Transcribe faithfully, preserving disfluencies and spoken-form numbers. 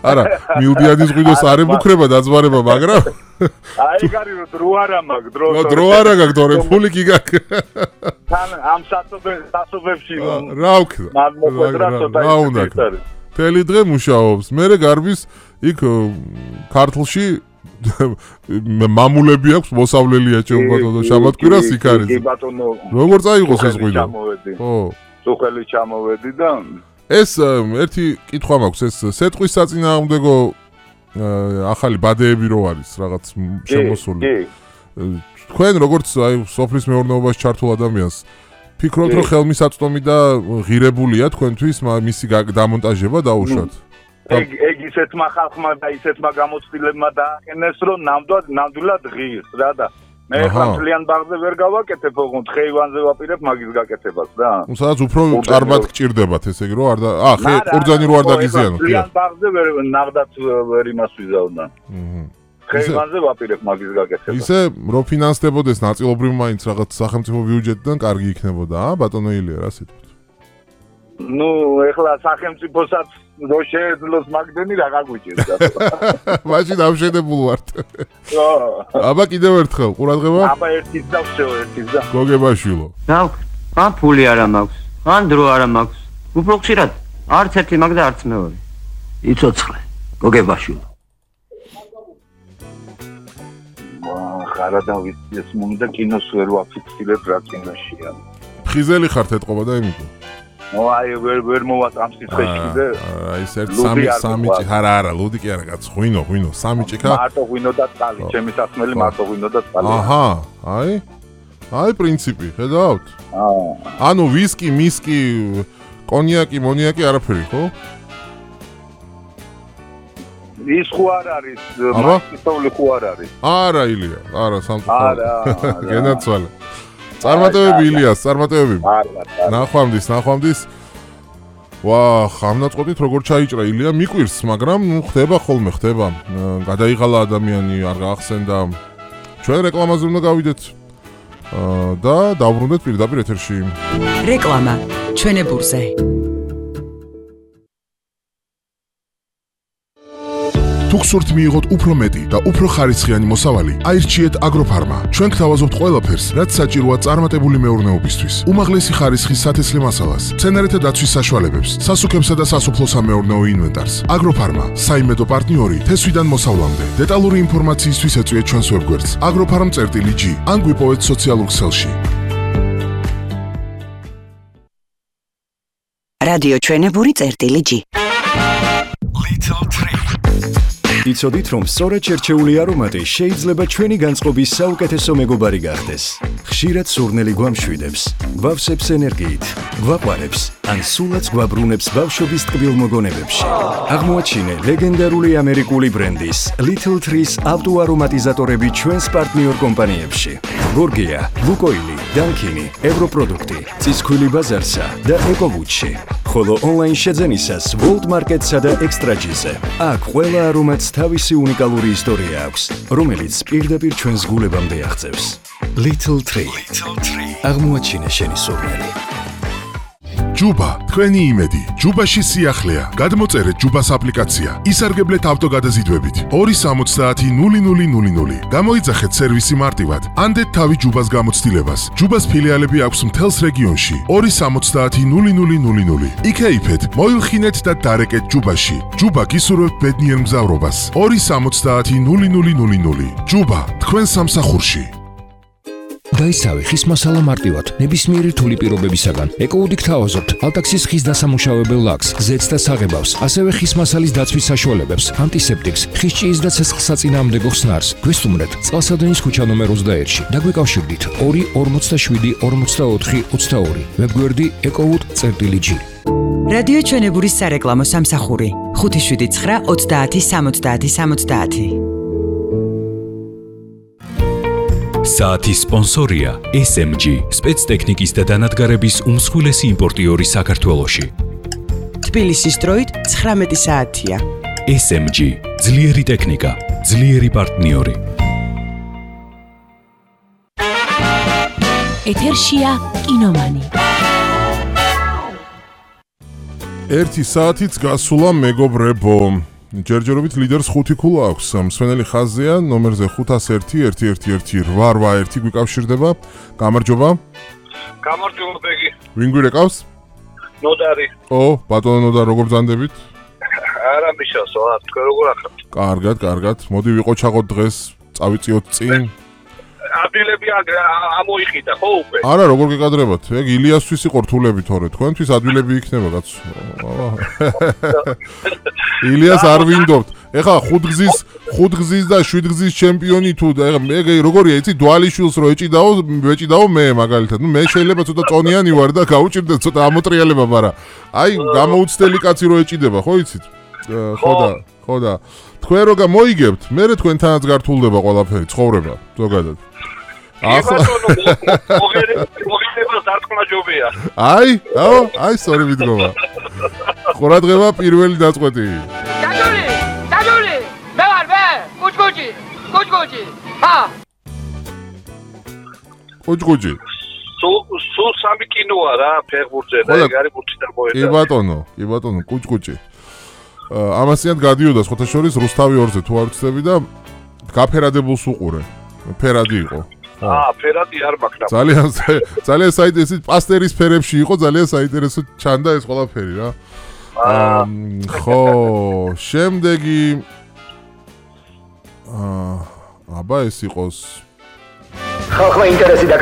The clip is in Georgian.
არა, მილდიანი ზღვიდოს არ ემუქრება დაძმარება, მაგრამ აი გარი რო დრო არა მაგ დრო. ნო დრო არა გაკ თორე ფული კი გაკ. თან ამ სასობებში რა ვქნა? მაგმოკვეტრა ცოტა ის. მთელი დღე მუშაობს. მერე გარბის იქ ქართლში მამულები აქვს მოსავლელია ჩემბატონო შაბათკვირას იქ არის. კი ბატონო. როგორ წაიღოს ეს ღვინო? ხო. სუხელი ჩამოვედი და ეს ერთი კითხვა მაქვს ეს სეტყვის საწინააღმდეგო ახალი ბადეები რო არის რაღაც შემოსული. თქვენ როგორც აი სოფლის მეურნეობაში ჩართულ ადამიანს ფიქრობთ რომ ხელმისაწვდომი და ღირებულია თქვენთვის მისი დამონტაჟება დაუშვათ? ეგ ეგ ისეთმა ხალხმა და ისეთმა გამოცდილებმა დააყენეს რომ ნამდვილად ნამდვილად ღირს რა და მე ხა მთლიან ბაღზე ვერ გავაკეთებ ოღონდ ხეივანზე ვაპირებ მაგის გაკეთებას რა. სადაც უფრო ჭარბად გჭირდებათ ესე იგი რომ არ და აა ხე ყურძანი რო არ დაგიზიანოთ. მთლიან ბაღზე ვერ ნახდათ ვერ იმას ვიზავდა. აჰა. ხეივანზე ვაპირებ მაგის გაკეთებას. ისე რო ფინანსდებოდეს ნაწილობრივ მაინც რაღაც სახელმწიფო ბიუჯეტიდან კარგი იქნებოდა აა ბატონო ილია რა სიტყვით? ნუ ეხლა სახელმწიფოსაც რო შეეძლოს მაგდენი რა გაგვიჭირდა. მაშინ ამშენებულ ვართ. ხო. აბა კიდევ ერთხელ ყურადღება. აბა ერთის და всё ერთის და. გოგებაშვილო. რა ან ფული არა მაქვს, ან დრო არა მაქვს. უფრო ხშირად არც ერთი მაგ და არც მეორე. იცოცხლე გოგებაშვილო. ხარა და ვიცი ეს მომდა კინოს ვერ ვაფიქსირებ რა კინოშია. ფხიზელი ხართ ეთყობა და იმითო. ნუ აი ვერ ვერ მოვათ ამ სიცხეში და აი ეს ერთ სამი სამი ჭი არა არა ლუდი კი არა კაც ღვინო ღვინო სამი ჭიქა მარტო ღვინო და წყალი ჩემი სასმელი მარტო ღვინო და წყალი აჰა აი აი პრინციპი ხედავთ აა ანუ ვისკი მისკი კონიაკი მონიაკი არაფერი ხო ის ხო არ არის მასწავლი ხო არ არის არა ილია არა სამწუხაროდ არა გენაცვალე წარმატებები ილიას, წარმატებები. ნახვამდის, ნახვამდის. ვა, ხამნაწყոտით როგორ ჩაიჭრა ილია, მიყვირს, მაგრამ ნუ ხდება ხოლმე, ხდება. გადაიღალა ადამიანი, არ გაახსენდა. ჩვენ რეკლამაზე უნდა გავიდეთ. და დავბრუნდეთ პირდაპირ ეთერში. რეკლამა ჩვენებურზე. თუ გსურთ მიიღოთ უფრო მეტი და უფრო ხარისხიანი მოსავალი, აირჩიეთ აგროფარმა. ჩვენ გთავაზობთ ყველაფერს, რაც საჭიროა წარმატებული მეურნეობისთვის. უმაღლესი ხარისხის სათესლე მასალას, მცენარეთა დაცვის საშუალებებს, სასუქებსა და სასოფლო-სამეურნეო ინვენტარს. აგროფარმა, საიმედო პარტნიორი თესვიდან მოსავლამდე. დეტალური ინფორმაციისთვის ეწვიეთ ჩვენს ვებგვერდს agroffarm.gi ან გვიპოვეთ სოციალურ ქსელში. რადიო ჩვენებური წერტილი.gi Little Tree იცოდით რომ სწორედ შერჩეული არომატი შეიძლება ჩვენი განწყობის საუკეთესო მეგობარი გახდეს. ხშირად სურნელი გვამშვიდებს, გვავსებს ენერგიით, გვაყვარებს, ან სულაც გვაბრუნებს ბავშვობის ტკბილ მოგონებებში. აღმოაჩინე ლეგენდარული ამერიკული ბრენდის Little Trees ავტოარომატიზატორები ჩვენს პარტნიორ კომპანიებში. გორგია, ლუკოილი, დანკინი, ევროპროდუქტი, წისქვილი ბაზარსა და ეკოვუჩი. ხოლო ონლაინ შეძენისას World Market-სა და Extra-ზე. აქ ყველა არომატს თავისი უნიკალური ისტორია აქვს, რომელიც პირდაპირ ჩვენს გულებამდე აღწევს. Little Tree. აღმოაჩინე შენი სურნელი. ჯუბა, თქვენი იმედი. ჯუბაში სიახლეა. გადმოწერეთ ჯუბას აპლიკაცია. ისარგებლეთ ავტოგადაზიდვებით. ორი სამოცდაათი ნული ნული ნული ნული. გამოიძახეთ სერვისი მარტივად. ანდეთ თავი ჯუბას გამოცდილებას. ჯუბას ფილიალები აქვს მთელს რეგიონში. ორი სამოცდაათი ნული ნული ნული ნული. იქეიფეთ, მოილხინეთ და დარეკეთ ჯუბაში. ჯუბა გისურვებთ ბედნიერ მგზავრობას. ორი სამოცდაათი ნული ნული ნული ნული. ჯუბა, თქვენ სამსახურში. დაისავე ხის მასალა მარტივად, ნებისმიერი რთული პირობებისაგან. ეკოუდი გთავაზობთ ალტაქსის ხის დასამუშავებელ ლაქს, ზეთს და საღებავს, ასევე ხის მასალის დაცვის საშუალებებს, ანტისეპტიკს, ხის ჭიის და ცეცხლსაწინააღმდეგო ხსნარს. გვესტუმრეთ წყალსადენის ქუჩა ნომერ ოცდაერთში და გვიკავშირდით ორი ორმოცდაშვიდი ორმოცდაოთხი ოცდაორი. ვებგვერდი ეკოუდი.gi. რადიო ჩვენებურის სარეკლამო სამსახური ხუთი შვიდი ცხრა ოცდაათი სამოცდაათი სამოცდაათი. საათის სპონსორია ეს ემ ჯი, სპეცტექნიკის და დანადგარების უმსხვილესი იმპორტიორი საქართველოში. თბილისის დროით ცხრამეტი საათია. ეს ემ ჯი, ძლიერი ტექნიკა, ძლიერი პარტნიორი. ეთერშია კინომანი. ერთი საათიც გასულა მეგობრებო. ჯერჯერობით ლიდერს ხუთი ქულა აქვს. მსვენელი ხაზია ნომერზე ხუთას ერთი ერთი ერთი ერთი რვა ერთი გვიკავშირდება. გამარჯობა. გამარჯობა ბეგი. ვინ გვირეკავს? ნოდარი. ო, ბატონო ნოდარ, როგორ ბრძანდებით? არა მიშასო, რა, თქვენ როგორ ახლა? კარგად, კარგად. მოდი ვიყოჩაღოთ დღეს, წავიწიოთ წინ. ადგილები ამოიყიდა, ხო უკვე? არა, როგორ გეკადრებათ? ეგ ილიასთვის იყო რთულები თორე, თქვენთვის ადგილები იქნება, კაცო. ილიას არ ვინდობთ. ეხლა ხუთგზის, ხუთგზის და შვიდგზის ჩემპიონი თუ ეგ როგორია, იცი, დვალიშვილს რო ეჭიდაო, ვეჭიდაო მე მაგალითად. ნუ მე შეიძლება ცოტა წონიანი ვარ და გავუჭირდე ცოტა ამოტრიალება, მაგრამ აი გამოუცდელი კაცი რო ეჭიდება, ხო იცით? ხო და, ხო და თქვენ რო გამოიგებთ, მე თქვენთანაც გართულდება ყველაფერი, ცხოვრება, ზოგადად. ახლა მოგერებას დარწმუნებია. აი, აო, აი სწორი მიდგომა. ყურადღება პირველი დაწყვეტი. დაჯული, დაჯული. მე ვარ მე, კუჭკუჭი, კუჭკუჭი. ჰა. კუჭკუჭი. სულ სულ სამი კინოა რა, ფეხბურთზე და ეგ არის ბურთი და მოედა. კი ბატონო, კი ბატონო, კუჭკუჭი. ამასიანად გადიოდა სხვათა შორის რუსთავი ორზე თუ არ ვცდები და გაფერადებულს უყურე. ფერადი იყო. აა, ფერადი არ მაქვს. ძალიან ძალიან საინტერესო პასტერის ფერებში იყო, ძალიან საინტერესო ჩანდა ეს ყველაფერი რა. აა, ხო, შემდეგი აა, აბა ეს იყოს ხალხმა ინტერესი და